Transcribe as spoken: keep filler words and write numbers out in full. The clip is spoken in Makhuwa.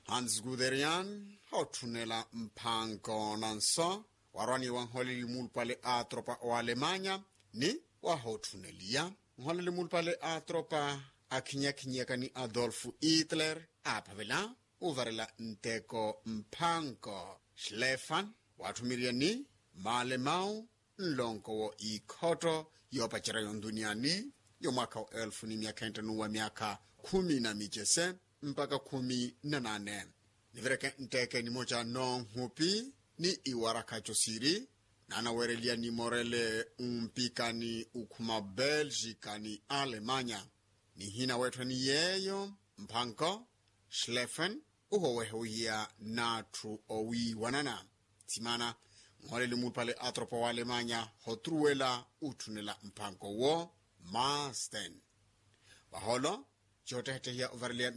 Hans Guderian hootthunela mphanko nanso warwaniwa nholeli muulupale a tropa wa alemanya ni wahootthuneliya nholeli muulupale a tropa akhinyakhanyaka ni adolfu hitler aaphavela uvarela nteko mphanko. Schlefan waatthumiriya ni maalemau nlonko wo ikhotto yoopacerya yonduniyani yo mwaakha wa elfu ni myaakha enttanuwa myaakha khumi na micese mpakha khumi na nane. Nivireke ntteke nimoca noonhupi ni iwarakha cosiiri naanaweereliya nimorele umpikani ukhuma belgika ni alemanya. Nihina weetthwani yeeyo mphanko schlefen uhowehe wihiya n'atthu owiiwanana. Thimana nholeli muulupale atropa wa alemanya hotruwela utthunela mphanko wo masten. Vahoolo coottehettehiya ovareleya